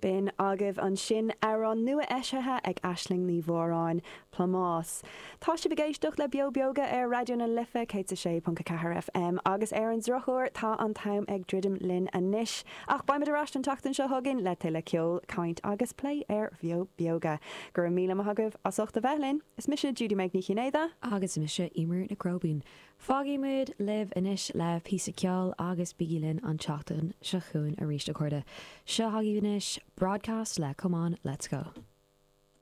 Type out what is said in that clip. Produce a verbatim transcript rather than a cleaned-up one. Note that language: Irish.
B'in agaibh ansin amhrán nua eisithe ag Aisling Ní Mhóráin Plámás. Tá sibh ag éisteacht le Beo Beoga ar Raidió na Life céad a sé ponc a ceathair FM agus ar an drochuair tá an t-am ag druidim linn anois. Ach beimid ar ais an tseachtain seo chugainn le tuilleadh ceol, caint agus plé ar Bheo Beoga. Go raibh míle maith agaibh as ucht a bheith linn, is mise Judy Meg Ní Chinnéide agus mise Eimear Nic Róibín. Fágaimid libh anois le píosa ceoil agus bígí linn an tseachtain seo chugainn arís a chairde. Seo agaibh anois broadcast le Come on, let's go.